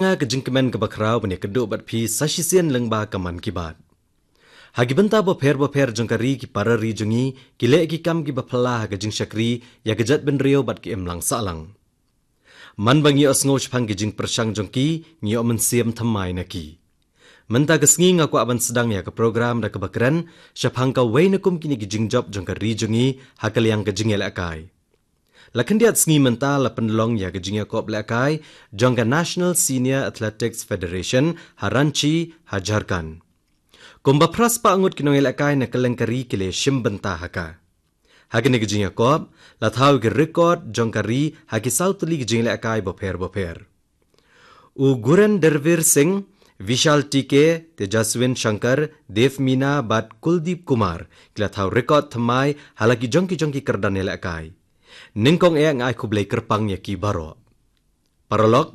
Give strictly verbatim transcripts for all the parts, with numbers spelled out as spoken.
Nga ka jingkmen kaba khraw ban ïakynduh bad phi sa shisien lyngba ka Mann Ki Baat. Ha ki bynta bapher bapher jong ka ri, ki para ri jong ngi ki leh ki kam kiba phylla ha ka jingshakri ïa ka jaitbynriew bad ka imlang sahlang. Man ba ngi ïohsngew shaphang ki jingpyrshang jong ki, ngi ïoh mynsiem thymmai na ki. Mynta ka sngi nga kwah ban sdang ïa ka program da kaba kren shaphang kawei na kum kine ki jingjop jong ka ri jong ngi ha ka liang ka jingïalehkai. La khyndiat sngi mynta la pynlong ïa ka jingïakop lehkai jong ka National Senior Athletics Federation ha Ranchi, ha Jharkhand. Kumba phra spah ngut ki nongïalehkai na kylleng ka ri ki la shim bynta ha ka. Ha kane ka jingïakop, la thaw ïa ki record jong ka ri ha ki saw tylli ki jingïalehkai bapher bapher. U Gurendevir Singh, Vishal T K, Tejaswin Shankar, Dev Meena bad Kuldeep Kumar ki la thaw record thymmai ha la ki jong ki jong ki kyrdan ïalehkai. Nyngkong eh nga ai khublei kyrpang ïa ki baroh. Paralok,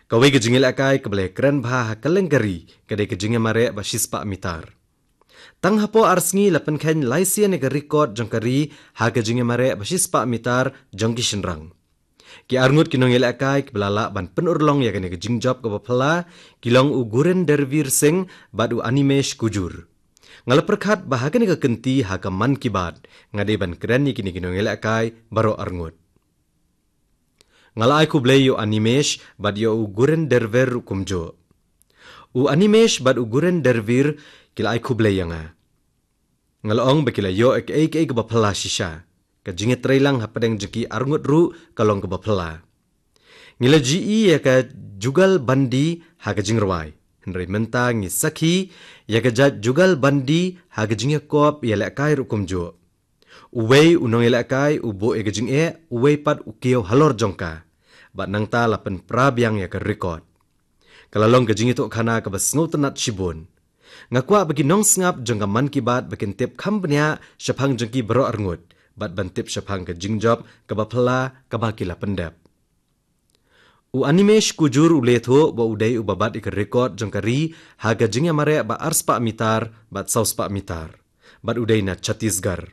kawei ka jingïalehkai kaba la kren bha ha kylleng ka ri ka dei ka jingïamareh ba shispah mitar. Tang hapoh ar sngi la pynkheiñ lai sien ïa ka record jong ka ri ha ka jingïamareh ba shispah mitar jong ki shynrang. Ki arngut ki nongïalehkai kiba la lah ban pynurlong ïa kane ka jingjop kaba phylla ki long u Gurendevir Singh bad u Animesh Kujur. Nga la pyrkhat ba ha kane ka kynti ha ka Mann Ki Baat nga dei ban kren ïa kine ki nongïalehkai baroh arngut. Nga la ai khublei ïa u Animesh bad ïa u Gurendevir ruh kumjuh. U Animesh bad u Gurendevir ki la ai khublei ïa nga. Nga la ong ba ki la ïoh ïa kaei kaei kaba phylla shisha. Ka jingïatreilang hapdeng jong ki arngut ruh ka long kaba phylla. Ngi la ju ïohi ïa ka Jugalbandi ha ka jingrwai, hynrei mynta ngi sakhi ïa ka jait Jugalbandi ha ka jingïakop ïalehkai ruh kumjuh. Uwei u nongïalehkai u buh ïa ka jingeh, uwei pat u kiew halor jong ka. Bad nangta la pynpra biang ïa ka record. Ka la long ka jingïathuhkhana kaba sngewtynnat shibun. Nga kwah ba ki nongsngap jong ka Mann Ki Baat ba kin tip kham bniah shaphang jong ki baroh arngut bad ban tip shaphang ka jingjop kaba phylla kaba ki la pyndep. U Animesh Kujur u la ïathuh ba u dei uba bat ïa ka record jong ka ri ha ka jingïamareh ba arspah mitar bad sawspah mitar. Bad u dei na Chhattisgarh.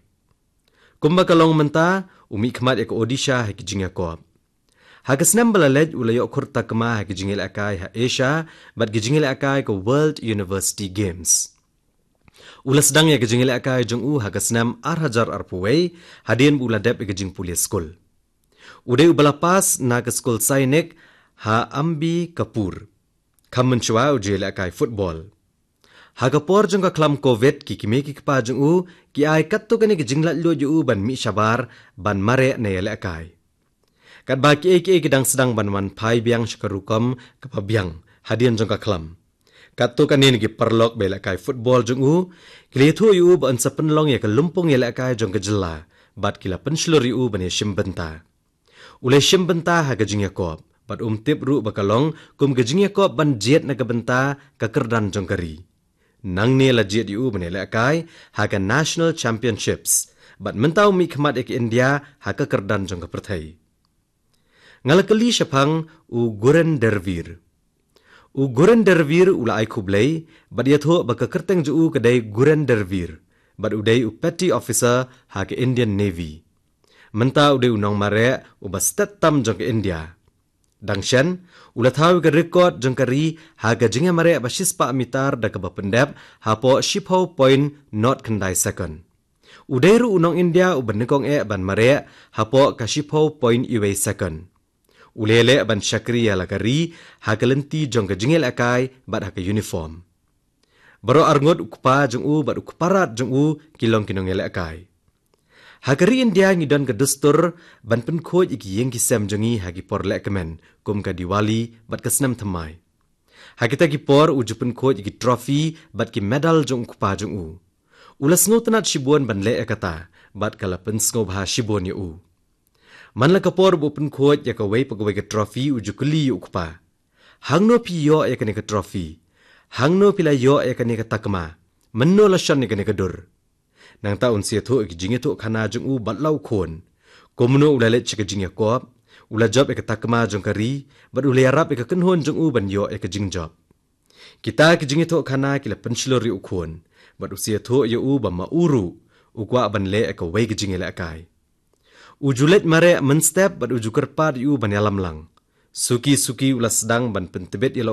Kumba ka long mynta, u mihkhmat ïa ka Odisha ha ki jingïakop. Ha ka snem ba la leit u la ïoh khur takma ha ki jingïalehkai ha Asia bad ki jingïalehkai ka World University Games. U la sdang ïa ka jingïalehkai jong u ha ka snem ar hajar arphew wei, hadien ba u la dep ïa ka jingpule skul. U dei uba la pass na ka skul Sainik ha Ambikapur. Kham mynshuwa u ju ïalehkai football. Ha ka por jong ka khlam Covid, ki kmie ki kpa jong u ki ai katto katne ka jinglaitluid ïa u ban mih shabar ban mareh ne ïalehkai. Katba kiei kiei ki dang sdang ban wan phai biang sha ka rukom kaba biang hadien jong ka khlam, katto katne na ki paralok ba ïalehkai football jong u ki la ïathuh ïa u ba un sa pynlong ïa ka lympung ïalehkai jong ka jylla bad ki la pynshlur ïa u ban ïashim bynta. U la shim bynta ha ka jingïakop bad um tip ruh ba ka long kum ka jingïakop ban jied na ka bynta ka kyrdan jong ka ri. Nangne la jied ïa u ban ïalehkai ha ka National Championships bad mynta u mihkhmat ïa ka India ha ka kyrdan jong ka pyrthei. Nga la kylli shaphang u Gurendevir. U Gurendevir u la ai khublei bad ïathuh ba ka kyrteng jong u ka dei Gurendevir bad u dei u petty officer ha ka Indian Navy. Mynta u dei u nongmareh uba stet tam jong ka India. Dang shen, u la thaw ïa ka record jong ka ri ha ka jingïamareh ba shispah mitar da kaba pyndep hapoh shiphew point nod khyndai second. U dei ruh u nong India uba nyngkong eh ban mareh hapoh ka shiphew point iwei second. U la leh ban shakri ïa la ka ri ha ka lynti jong ka jingïalehkai bad ha ka uniform. Baroh arngut u kpa jong u bad u kpa rat jong u ki long ki nongïalehkai. Ha ka ri India ngi don ka dustur ban pynkhuid ïa ki ïing ki sem jong ngi ha ki por lehkmen kum ka Diwali bad ka snem thymmai. Ha kita ki por u ju pynkhuid ïa ki trophy bad ki medal jong u kpa jong u. U la sngewtynnat shibun ban leh ïa kata bad ka la pynsngewbha shibun ïa u. Man la ka por ba u pynkhuid ïa kawei pa kawei ka trophy u ju kylli ïa u kpa, hangno phi ïoh ïa kane ka trophy? Hangno phi la ïoh ïa kane ka takma? Mynno la shon ïa kane ka dur? Nangta un sa ïathuh ïa ki jingïathuhkhana jong u bad la u khun. Kumno u la leit sha ka jingïakop, u la jop ïa ka takma jong ka ri bad u la ïarap ïa ka kynhun jong u ban ïoh ïa ka jingjop. Kita ki jingïathuhkhana ki la pynshlur ïa u khun bad u sa ïathuh ïa u ba ma u ruh u kwah ban leh ïa kawei ka jingïalehkai. U ju leit mareh mynstep bad u ju kyrpad ïa u ban ïalam lang. Suki suki u la sdang ban pyntbit ia